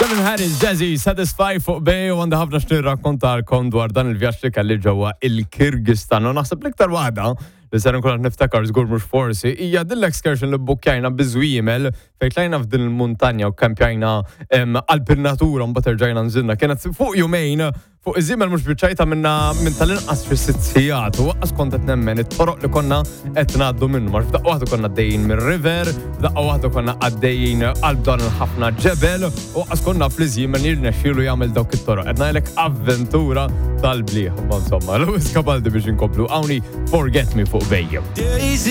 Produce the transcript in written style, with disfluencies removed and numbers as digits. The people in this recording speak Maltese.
Kevin Harris, Jazzy, Satisfy fuq Bay u għandi ħafna x'nirrakkontalkom dwar dan il-vjaġġ li kelli ġewwa il-Kirgistan. U naħseb l-iktar waħda li ser nkun qed niftakar żgur mhux forsi hija din l-excursion li bbukkjajna biż-żwiemel fejn tlajna f'din il-muntanja u kkampjajna qalb in-natura mbagħad erġajna nżilna. Kienet fuq jumejn Fuq iż-żiemel mhux biċ-ċajta minna minn tal-inqas xi sitt sigħat u waqqas kont qed nemmen it-toroq li konna qed ngħaddu minnhom għax f'daqqa waħda konna għaddejjin mir-river, f'daqqa waħda konna għaddejjin qalb dan il-ħafna ġebel u waqqas konna fl żiemel jirnexxielu jagħmel dawk it-toroq. Qed ngħidlek avventura tal-bliħ. Ma insomma, Lewis Capaldi biex inkomplu hawnhi Forget Me fuq Bejjem.